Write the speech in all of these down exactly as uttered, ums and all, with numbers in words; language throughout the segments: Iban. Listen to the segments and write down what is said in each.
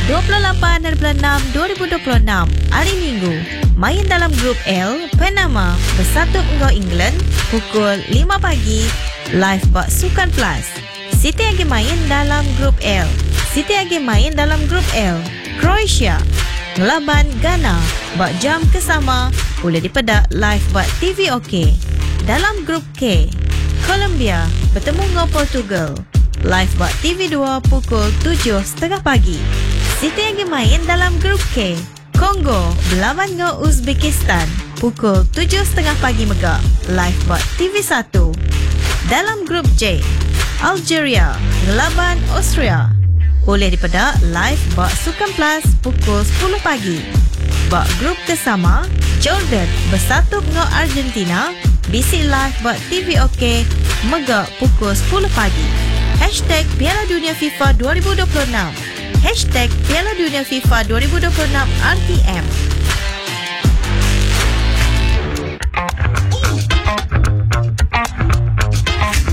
dua puluh lapan hari bulan enam dua ribu dua puluh enam, hari Minggu. Main dalam grup L, Panama bersatu dengan England pukul lima pagi live bak Sukan Plus. Siti lagi main dalam grup L. Siti lagi main dalam grup L. Croatia ngelaban Ghana bak jam kesama boleh dipedak live bak T V OK. Dalam grup K, Colombia bertemu dengan Portugal live bak T V dua pukul tujuh tiga puluh pagi. Siti lagi main dalam grup K, Congo berlawan dengan Uzbekistan pukul tujuh tiga puluh pagi mega live bak T V satu. Dalam grup J, Algeria ngelaban Austria boleh dipedak live bak Sukan Plus pukul sepuluh pagi. Bak grup kesama, Jordan bersatu dengan Argentina B C live bak T V OK mega pukul sepuluh pagi. Hashtag Piala Dunia FIFA dua ribu dua puluh enam. Hashtag Piala Dunia FIFA dua ribu dua puluh enam R T M.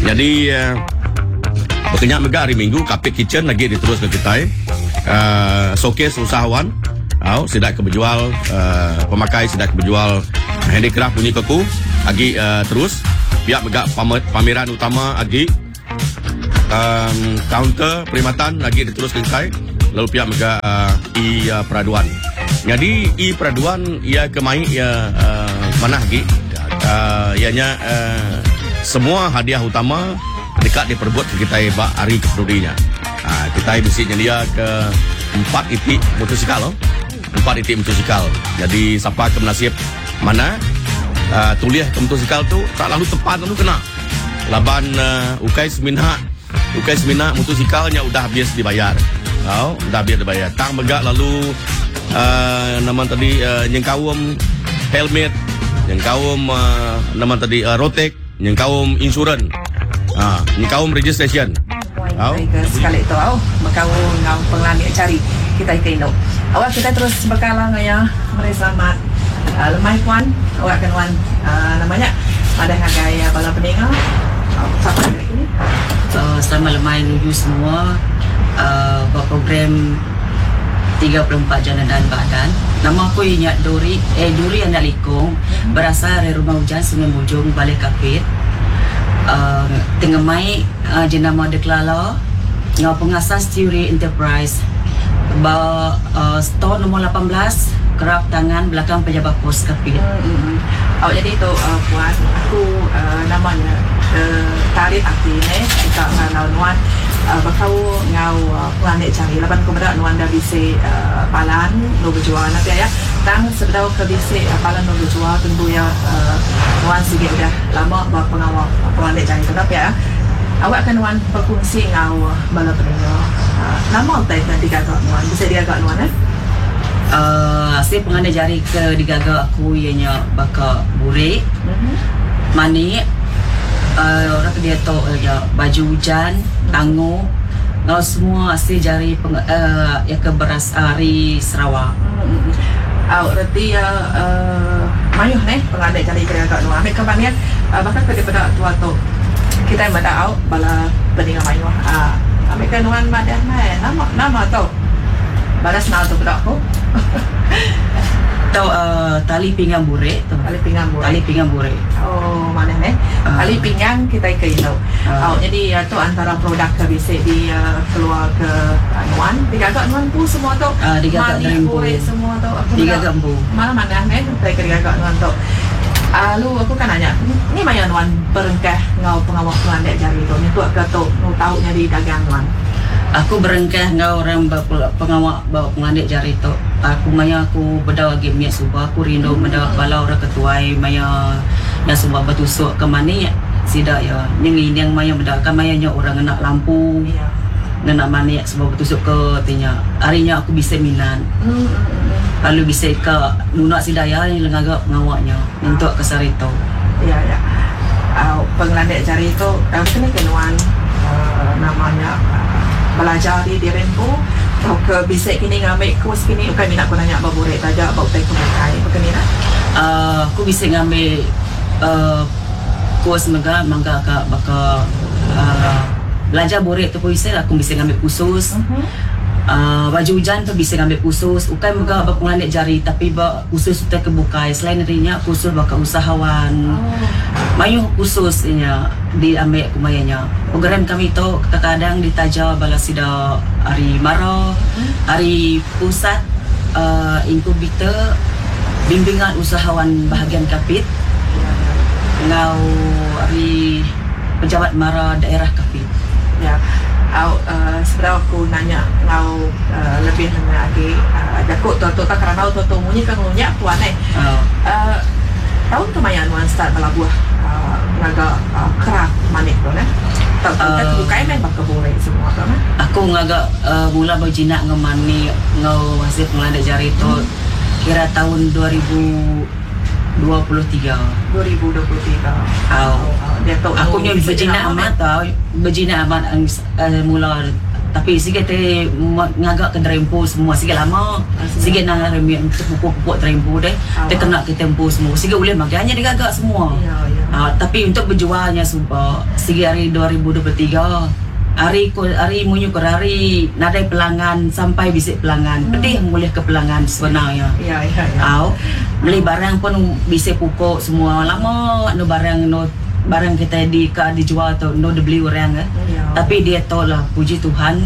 Jadi uh, berkenyak mega hari Minggu Kapit Kitchen lagi diterus ke kita. Uh, showcase usahawan. Au, sidak ke berjual, uh, pemakai sidak ke berjual handicraft bunyi keku lagi uh, terus pihak mega pamer-, pameran utama lagi um, kaunter perkhidmatan lagi diterus ke kita. Lalu pihak mega uh, e, uh, peraduan. Jadi e peraduan ia kemai ia uh, mana lagi uh, ianya uh, semua hadiah utama dekat diperbut ke kita bak hari kepedulinya. Ha, kita bisi nyelia ke empat itik motosikal loh. Empat itik motosikal. Jadi siapa ke menasib mana uh, tuliah ke motosikal tu tak lalu tepat lalu kena. Laban uh, ukai semina ukai semina motosikalnya udah habis dibayar. Tau, udah habis dibayar. Tang megak lalu uh, nama tadi uh, nyengkaum helmet, nyengkaum uh, nama tadi uh, rotek, nyengkaum insurans. Ha, nyengkaum registration. Au. Sekali tu au, makau ngau penglani cari kita ke Indo. Awak kita terus bekalang ya, mari selamat. Uh, lemai puan, awak kan wan uh, namanya pada ngagai uh, bala peninga. Uh, siapa lagi ni? Uh, selamat lemai nuju semua. Uh, buat program tiga puluh empat Jana dan Badan. Nama aku Ingat Duri, eh Duri Anak Likung, berasal dari Rumah Hujan Sungai Mujung, Balai Kapit. Uh, tengah mai, uh, jenama Deklala, ngau pengasas Theory Enterprise. Ba, uh, store nombor lapan belas, kerap tangan belakang pejabat pos Kapit. Hmm, hmm. Oh, jadi tu, uh, puan, aku, uh, namanya, uh, tarik hati ni, kita ngau nuan. Uh, bakau ngau, uh, planet cari laban ku medak nuan dah bisi, uh, palan nu berjual nanti ya. Tang sebedau ke bisi, uh, palan nu berjual tentu ya, uh, nuan sikit dah lama buat pengawal planet cari tu tapi ya. Awak kan nuan berkongsi ngau, uh, bala pendengar. Uh, nama utai tadi gagak nuan bisa dia gagak nuan eh? Uh, hasil pengandai jari ke digagak aku ianya baka burik, mm-hmm. manik, uh, orang dia tu, uh, ya, baju hujan, tango, ngau semua hasil jari peng, uh, ya ke beras hari Sarawak. Hmm. Au reti ya, uh, mayuh ne pengandai jari ke digagak nuan. Ambil kebanian, uh, bahkan ke daripada tua tu kita yang berdak au bala peninga mayuh. Uh, ambil ke nuan madah mai nama nama tu. Balas nau tu berdak aku. Tau, uh, tali pinggang burik tu. Tali pinggang burik. Tali pinggang burik. Oh, mana ni? Uh. Tali pinggang kita ke Indo. Uh. Oh, jadi, uh, tu antara produk ke bisa di, uh, keluar ke, uh, Nuan. Digagak Nuan pun semua tu. Uh, digagak Mani dari empu. burik semua tu. Aku Digagak nak empu. Mana mana ni? Kita ke digagak Nuan tu. Uh, lu aku kan nanya, ni maya Nuan berengkah ngau pengawak Nuan dek jari tu. Ni tu ke tu, nu tahu nyari dagang Nuan. Aku berengkah ngau orang pengawak bawa pengandik jari tu. Aku maya aku bedau lagi miak subah, aku rindu Hmm. bedau bala orang ketuai maya yang subah bertusuk ke mana ya sidak ya. Yang ini yang maya bedau kan maya nya orang nak lampu. Ya. Nak manik sebab bertusuk ke tinya. Harinya aku bisa minat. Hmm, hmm, hmm. Lalu bisa ke nunak sidaya yang lengagak pengawaknya untuk ke sarito. Ya ya. Uh, pengelandek jari itu, uh, kena kenuan, uh, namanya, uh, belajar di Dirempo atau ke bisik kini ngambil kos kini bukan minat aku nanya baburek saja bau tai kumukai bukan ni nak? Uh, aku bisa ngambil, uh, kos mega mangga ka baka, uh, belajar borek tu pun bisa aku bisa ngambil khusus. Mhm. Uh, baju hujan tu bisa ngambil khusus ukai mega ba pengelandik jari tapi ba khusus utai kebukai selain darinya khusus baka usahawan. Oh. Mayuh khusus nya diambil kumayanya. Program kami tu kadang ditaja bala sida hari Mara, hari pusat uh, inkubator bimbingan usahawan bahagian Kapit ngau hari pejabat Mara daerah Kapit. Ya. Au uh, sebenarnya aku nanya ngau uh, lebih nanya lagi uh, jaku tu tu tak kerana tu tu munyi kan ngunya puan eh. Uh, Uh, tahun kemayan nuan start belabuh uh, ngaga uh, kerap manik tu ne. Tahu tu kan Uh, bukai main bakal boleh semua tu ne. Aku ngagak uh, mula berjinak ngemani ngau hasil pengelandik jari tu hmm. kira tahun dua ribu dua puluh tiga. dua ribu dua puluh tiga. Au. Oh, dia tahu Aku nya berjinak amat tau, berjinak amat uh, mula tapi sikit te ngagak ke terempu semua sikit lama. Sikit nang remi untuk pupuk-pupuk terempu deh. Te kena ke tempu semua. Sikit boleh makanya dia gagak semua. Ya, ya. Uh, tapi untuk berjualnya sumpah sikit hari dua ribu dua puluh tiga hari ko hari munyu ko hari nadai pelanggan sampai bisik pelanggan. Hmm. Pedih boleh ke pelanggan sebenarnya. Ya, ya, ya. Au, beli barang pun bisik pupuk semua lama no barang no barang kita di ke dijual tu no dibeli orang eh. Ya. Tapi dia tahu lah puji Tuhan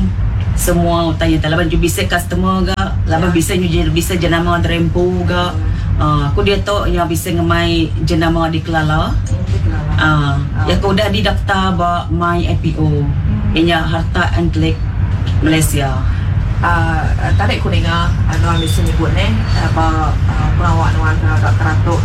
semua tanya tak laban bisa customer ga laban Ya. bisa nyu bisa jenama terempu ga. Uh, aku dia tahu yang bisa ngemai jenama di Kelala. Di Kelala. Ah, Oh. ya aku dah didaftar ba My I P O. Hmm. Inya Harta Antelik Malaysia. Uh, tarik kuninga anu ambil menyebut ne apa uh, pelawak nuan agak keratuk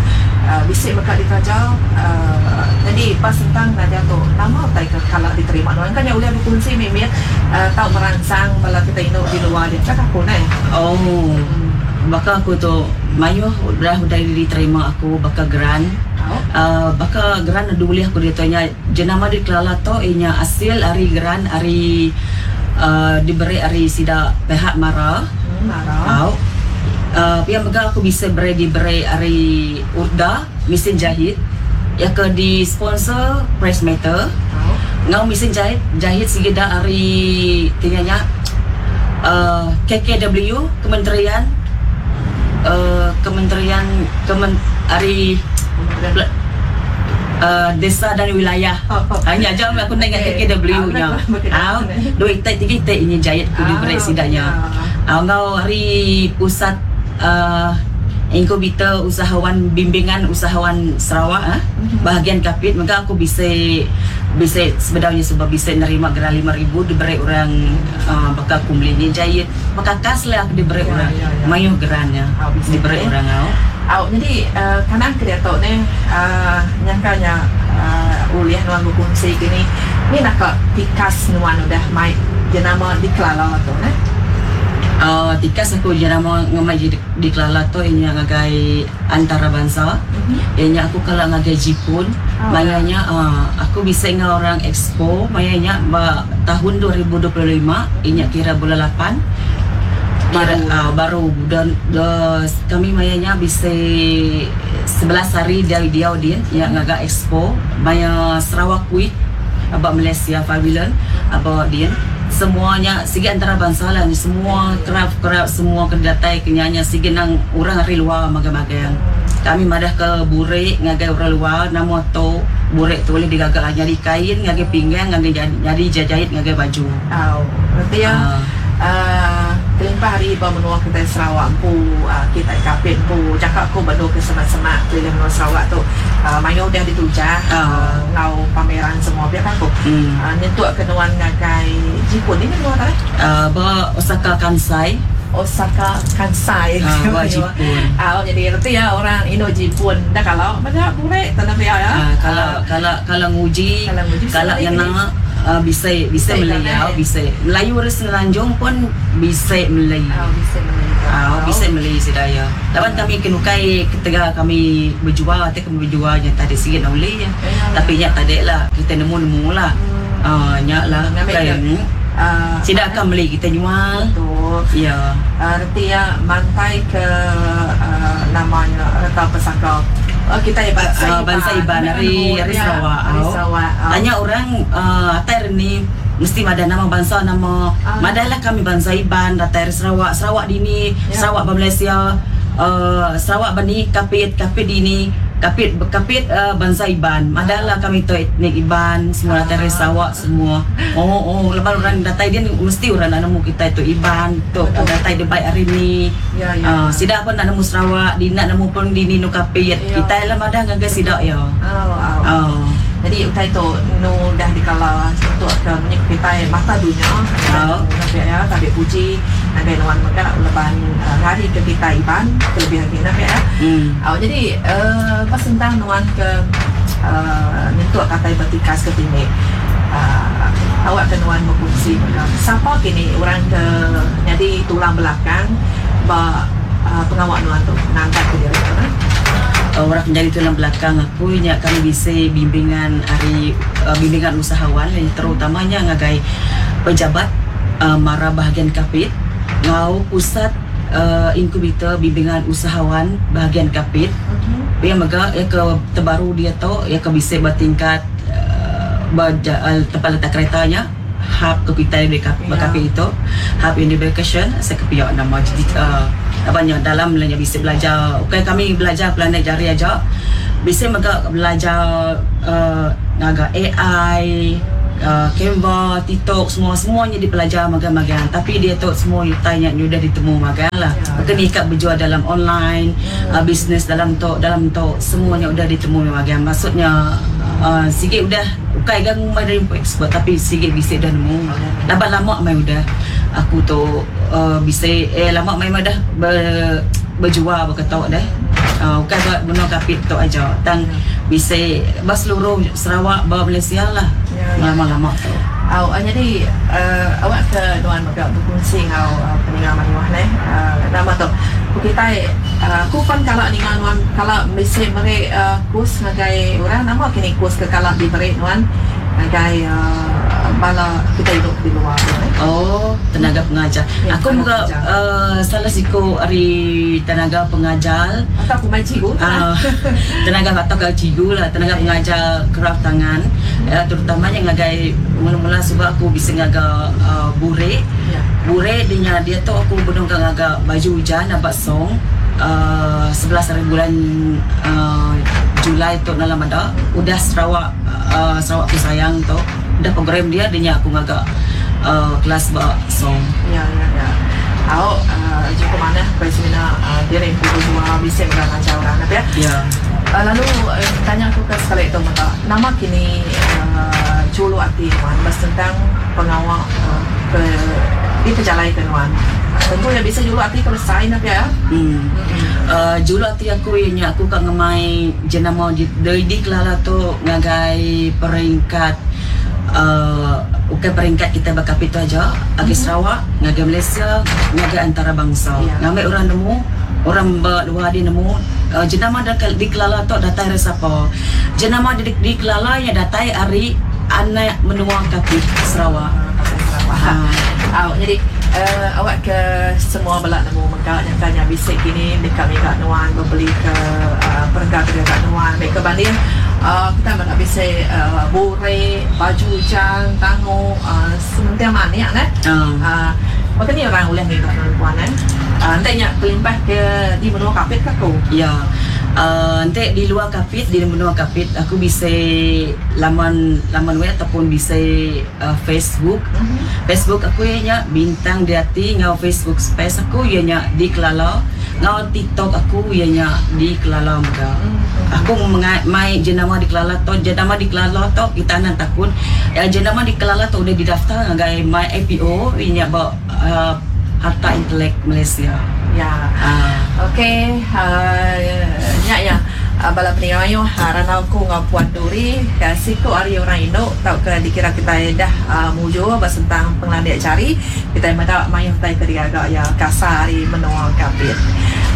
uh, bisik mereka ditaja uh, jadi pas tentang nadia tu nama tai ke kalau diterima nuan kan yang boleh berkongsi mimit uh, tau merangsang bala kita induk di luar dia cakap aku ne. Oh. Hmm. Baka aku tu mayuh dah udah diterima aku baka geran. Oh. Uh, baka geran ada boleh aku dia tanya jenama di Kelala tu inya hasil hari geran hari uh, diberi hari sida pihak Mara. Hmm, Mara. Au. Uh, yang mega aku bisa beri diberi hari Urda mesin jahit yang ke di sponsor Press Matter. Oh. Ngau mesin jahit jahit sigida hari tinganya uh, K K W Kementerian uh, Kementerian Kemen hari uh, Desa dan Wilayah. Oh, oh. Hanya aja aku nak ingat Okey. K K W nya. Ah, Au, dua itai tiga itai ini jahit ku diberi Ah, sidanya. ya. Au ngau hari pusat uh, inkubator usahawan bimbingan usahawan Sarawak ah, Mhm. bahagian Kapit maka aku bisa bisa sebenarnya sebab bisa nerima geran lima ribu diberi orang uh, bakal aku beli ni jahit maka kas lah aku diberi Ya, orang ya, ya. mayuh gerannya Ah, bisa diberi eh. orang au. Au, jadi uh, kanan kereta ni uh, nyangkanya uh, uliah nuan berkongsi kini ni nak ke tikas nuan udah mai jenama di Kelala tu ne. Uh, tikas aku jenama ngemai di, di Kelala tu ini ngagai antarabangsa. Mm-hmm. Ianya aku kalau ngagai Jepun, Oh. mayanya uh, aku bisa ngau orang expo, mayanya ba, tahun dua ribu dua puluh lima, inya kira bulan lapan. Kira, Baru. uh, baru dan uh, kami mayanya bisa sebelas hari dari dia dia yang ngagai expo, maya Sarawak Week about Malaysia Pavilion about dia. Semuanya sigi antarabangsa lah ni semua craft-craft semua kedatai kenyanya sigi nang orang hari luar magang-magang. Kami madah ke burek ngagai orang luar nama tu burek tu boleh digagak nyari kain ngagai pinggang ngagai jadi, nyari jahit ngagai baju. Au, berarti ya Ah. uh, kelimpah hari ba menua kita Sarawak pu uh, kita Kapit pu cakap ku bendo ke semak-semak keliling menua Sarawak tu uh, mayu dah ditujah Ah. uh, ngau pameran semua biar aku. Hmm. Uh, nyentuk ke nuan ngagai Jepun ni menua tak eh? Uh, ba Osaka Kansai. Osaka Kansai. Ah, ba Jepun. Ah, jadi reti ya orang Indo Jepun dah kalau macam burek tanah biar ya. Ah, kalau kalau kalau nguji, Kalau nguji, kalau bisa yang lagi. nak uh, bisa bisa Bisa Melayu, kan, eh? bisa Melayu harus Semenanjung pun bisa Melayu. Ah, bisa Melayu. Ah, bisa Melayu sedaya. Lawan kami kenukai ketika kami berjual, atau kami berjual yang tadi sikit nak boleh ya. Ya, Tapi nyak tadi lah kita nemu-nemu lah. Hmm. Ah, nyak lah. Ngambil Kan. ke- Ah, Tidak akan beli kita jual. Betul. Ya. Uh, reti ya mantai ke uh, namanya reta pesaka. Oh, kita ya bangsa Uh, bangsa Iban dari dari Ya, Sarawak. Dari Au. Sarawak. Au. Tanya orang uh, atar ni Mesti ada nama bangsa, nama Ah. madahlah kami bangsa Iban, datai dari Sarawak, Sarawak dini, Ya. Sarawak ba Malaysia, uh, Sarawak bani Kapit, Kapit dini, Kapit Kapit uh, bangsa Iban. Madahlah kami tu etnik Iban, semua datai dari Sarawak semua. Oh oh, lepas orang datai dia mesti orang nak nemu kita itu Iban, tu datai dia baik hari ni. Ya, ya. Uh, sidak pun nak nemu Sarawak, di nak nemu pun dini nu Kapit. Ya. Kita lah madah ngagai sidak ya. Oh, oh. Oh. Jadi utai tu nu dah dikala untuk ke menyek kita mata dunia. Oh. Nabi ya, tabi puji nabi nuan mega leban uh, ngari ke kita Iban kelebihan kita nabi ya. Hmm. Oh, jadi uh, pas tentang nuan ke uh, nyentuh kata bertikas ke tinggi. Uh, awak ke nuan berfungsi mega. Siapa kini orang ke jadi tulang belakang ba uh, pengawal nuan tu ngangkat ke diri tu kan? Orang menjadi tulang belakang aku nya kami bisa bimbingan hari uh, bimbingan usahawan yang terutamanya ngagai pejabat uh, mara bahagian Kapit ngau pusat uh, inkubator bimbingan usahawan bahagian Kapit. Mm-hmm. Dia mega ya ke terbaru dia tu ya ke bisa bertingkat uh, berja, uh, tempat letak keretanya hub ke kita di Kap- Ya. Kapit itu hub unification saya kepiak nama jadi uh, banyak dalam lah yang bisa belajar. Okey, kami belajar pelanak jari aja. Bisa mega belajar uh, ngaga A I, uh, Canva, TikTok, semua semuanya dipelajar magang-magang. Tapi dia tu semua tanya ni dah ditemu magang lah. Ya. Maka ni ikat berjual dalam online, Hmm. uh, bisnes dalam tu, dalam tu semuanya udah ditemu magang. Maksudnya uh, sikit udah bukan gang dari expert tapi sikit bisa dah nemu. Laban lama mai udah aku tu uh, bisa eh lama mai dah ber, berjual berketok dah. Uh, bukan buat guna Kapit tu aja. Tang bisa bas seluruh Sarawak, bawah Malaysia lah. Ya, ya. Lama-lama tu. Aw, uh, jadi uh, awak ke nuan mega berkongsi ngau uh, peninggal manuah ne. Uh, nama tu. Ku kita uh, ku pun kalau ningal nuan kalau mesti beri uh, kurs ngagai orang nama kini kurs ke kalau diberi nuan ngagai uh, bala kita hidup di luar tu ne. Oh, tenaga pengajar. Ya, Aku tenaga juga pengajar. uh, salah siku hari tenaga pengajar. Atau aku main cikgu. Uh, tenaga atau ke cikgu lah, tenaga pengajar kraft tangan. Uh, terutamanya ngagai mula-mula sebab aku bisa ngaga uh, bure. Ya. Bure dia dia tu aku benung ke ngaga baju hujan nampak song. Uh, sebelas hari bulan uh, Julai tu dalam ada udah Sarawak uh, Sarawak aku sayang tu udah program dia dia aku ngaga uh, kelas bak song. Ya, ya, ya. Au, uh, jumpa mana seminar uh, dia yang pukul dua bisa mengajar orang apa ya? Ya. Uh, lalu uh, tanya aku ke sekali itu maka nama kini uh, julu ati nuan mas tentang pengawal uh, ke di perjalanan ke nuan. Tentu ya bisa julu ati kalau saya apa ya? Hmm. Uh, julu ati aku ianya aku kan ngemai jenama di di, di Kelala tu ngagai peringkat uh, bukan peringkat kita berkapit tu aja, agi Sarawak, ngagai Malaysia, ngagai antarabangsa. Ya. Ngambil orang nemu, orang luar dia nemu uh, jenama dah di Kelala tu datai dari siapa? Jenama di, di Kelala yang datai hari anak menua Kapit Sarawak. Uh, Sarawak. Ha. Awak jadi uh, awak ke semua belak nemu mengkak yang tanya bisik kini dekat mega nuan membeli ke uh, perengga ke dekat nuan mereka banding uh, kita nak bisik uh, bure baju hujan tango uh, sementing maniak ne. Uh. Uh, maka ni orang boleh mega nuan puan eh. Uh, nanti nyak kelimpah ke di menua Kapit ke aku? Ya. Uh, nanti di luar Kapit, di menua Kapit aku bisa laman laman web ataupun bisa uh, Facebook. Mm-hmm. Facebook aku ianya Bintang Diati, ngau Facebook space aku ianya di Kelala, ngau TikTok aku ianya di Kelala mega. Mm-hmm. Aku menga- mai jenama di Kelala to, jenama di Kelala to kita nan takut. Ya, jenama di Kelala to udah didaftar ngagai my A P O ianya ba uh, Harta Intelek Malaysia. Ya. Ah. Okey, uh, nyak ya. Uh, bala peningan ayo haran aku ngau Puan Duri, ya, siku hari orang Indo tau ke dikira kita dah uh, mujur bersentang pengelandik cari, kita meda mayuh tai ke digaga ya kasar hari menua Kapit.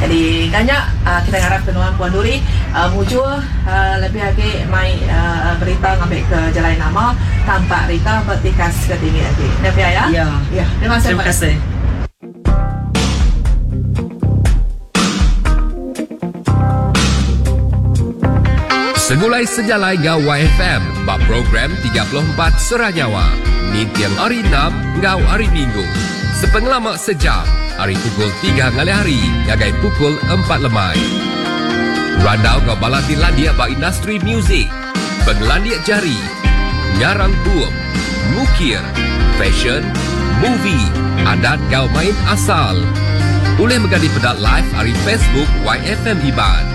Jadi banyak uh, kita harap kenuan Puan Duri uh, mujur uh, lebih lagi mai uh, berita ngambil ke jalan nama tampak Rita bertikas ke tinggi lagi. Dah ya? Ya. Ya, terima kasih. Terima kasih. Segulai sejalai ngau Y F M ba program tiga puluh empat Sera Nyawa. Ninting hari Enam ngau hari Minggu. Sepengelama sejam, hari pukul tiga ngalih hari, ngagai pukul empat lemai. Randau ngau bala ti landik ba industri muzik, pengelandik jari, ngarang bup, ngukir, fashion, movie, adat ngau main asal. Boleh mega dipeda live hari Facebook Y F M Iban.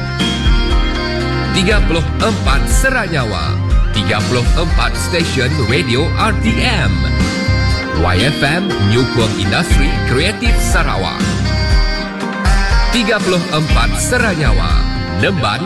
tiga puluh empat Sera Nyawa, tiga puluh empat Stesen Radio R T M. Y F M nyukung industri kreatif Sarawak. tiga puluh empat Sera Nyawa. Nemban.